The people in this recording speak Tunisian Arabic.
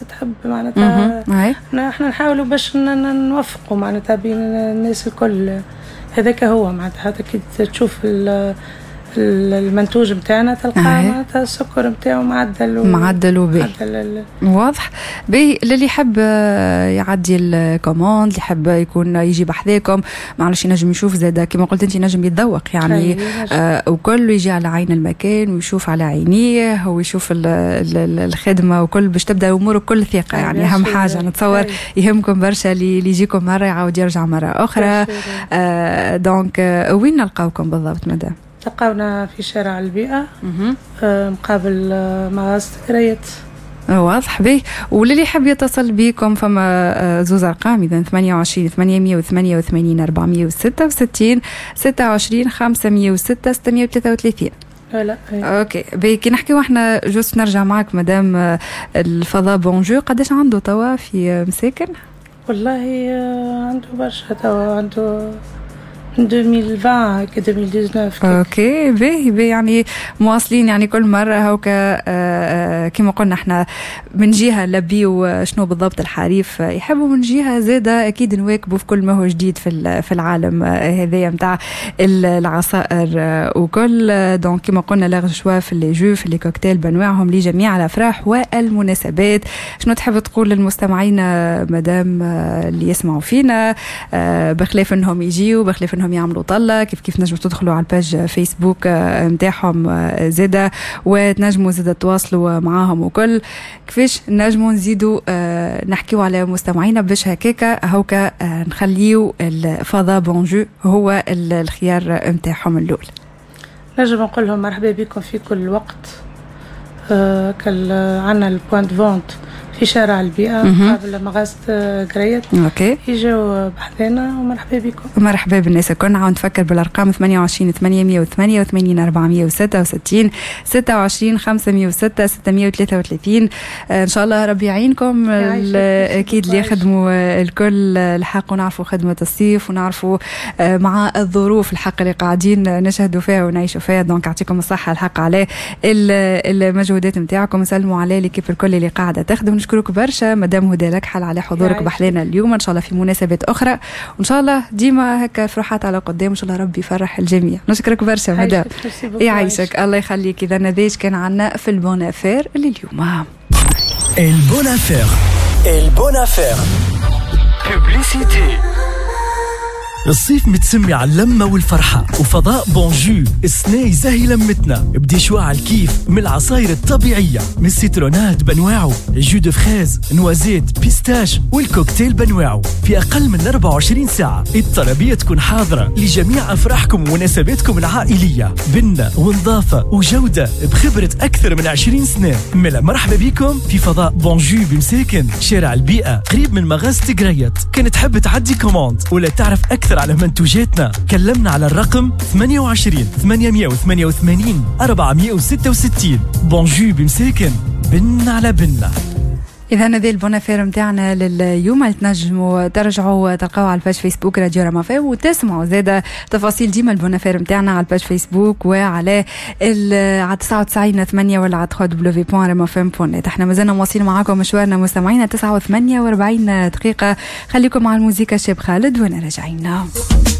تحب معناتها. احنا نحاولوا باش نوفقوا معناتها بين الناس الكل، هذاك هو معناتها. حتى كي تشوف المنتوج نتاعنا تلقى معناتها السكر نتاعو معدل. معدل وباهي، واضح. باهي، للي يحب يعدي ال commande، اللي يحب يكون يجي بحذاكم، معلش ينجم يشوف زاد، كما قلت انت ينجم يتذوق يعني وكل، يجي على عين المكان ويشوف على عينيه ويشوف الخدمة وكل، باش تبدا اموره كل ثقه. يعني اهم حاجة نتصور يهمكم برشا اللي يجيكم مرة يعاود يرجع مرة اخرى. Donc وين نلقاوكم بالضبط مدام؟ تلقاونا في شارع البيئة مقابل مغازة قريت. واضح. به، وللي يحب يتصل بكم فما زوز ارقام اذا: 28 888 466، 26 506 633. لا. OK، باهي، كي نحكيو احنا juste نرجع معك مدام، الفضاء Bon Jus قداش عنده توا في مساكن؟ والله عنده برشا توا، عنده 2020 هكا، 2019. OK، باهي باهي، يعني مواصلين، يعني كل مرة هوكا كما قلنا احنا من جهة نلبيو شنو بالضبط الحريف يحبوا، من جهة زاده اكيد نواكبوا في كل ما هو جديد في العالم هذايا نتاع العصائر وكل. donc كما قلنا large choix في les jus، في les cocktails بانواعهم لجميع الافراح والمناسبات. شنو تحب تقول للمستمعين مدام اللي يسمعوا فينا؟ بخلاف انهم يجيو، بخلاف انهم يعملوا طله، كيف كيف نجموا تدخلوا على ال page Facebook نتاعهم زاده وتنجموا زاده تواصلوا معاهم وكل، كيفاش نجموا نزيدوا نحكيو على مستمعينا باش هكاكا هوكا نخليو الفضاء Bon Jus هو الخيار نتاعهم الاول؟ نجم نقول لهم مرحبا بكم في كل وقت. عندنا ال point de vente في شارع البيئة قبل مغازة قريت. يجوا بحذانا ومرحبا بكم. مرحبا بالناس الكل. نعاود نفكر بالارقام: 28 888 466، 26 506 633. ان شاء الله ربي يعينكم. اكيد اللي يخدموا الكل الحق، ونعرفوا خدمة الصيف ونعرفوا مع الظروف الحق اللي قاعدين نشهدوا فيها ونعيشوا فيها. donc يعطيكم الصحة الحق على المجهودات نتاعكم، نسلموا على l'équipe الكل اللي قاعدة تخدم. نشكرك برشا مدام هدى لكحل على حضورك بحذانا اليوم، ان شاء الله في مناسبات اخرى، وان شاء الله ديما هكا فرحات على قدام، وان شاء الله ربي يفرح الجميع. نشكرك برشا مدام. يعيشك، الله يخليك. اذا هذا كان عنا في ال bonne affaire لليوم. ال bonne affaire، ال bonne affaire، publicité. الصيف متسمي على اللمة والفرحة، وفضاء Bon Jus السنة يزهي لمتنا ب des choix على الكيف من العصاير الطبيعية، من ال citronnade بنواعه، jus de fraise، noisette، pistache، والكوكتيل بنواعه. في أقل من 24 ساعة الطلبية تكون حاضرة لجميع أفراحكم ومناسباتكم العائلية. بنة ونظافة وجودة بخبرة أكثر من 20 سنة. ملا مرحبا بكم في فضاء Bon Jus بمساكن، شارع البيئة، قريب من مغازة قريت. كان تحب تعدي commande ولا تعرف أكثر على منتوجاتنا كلمنا على الرقم 28 888 466. Bon Jus بمساكن، بن على بنة. اذا هذه ال bonne affaire نتاعنا لليوم، اللي تنجموا ترجعوا تلقاو على ال page Facebook راديو راما FM وتسمعوا زاده تفاصيل ديما ال bonne affaire نتاعنا على ال page Facebook وعلى على 99 8 ولا على www.ramafm.net. احنا مازلنا مواصلين معاكم مشوارنا مستمعينا، 9 و48 دقيقة. خليكم مع الموسيقى، الشاب خالد، وانا راجعين.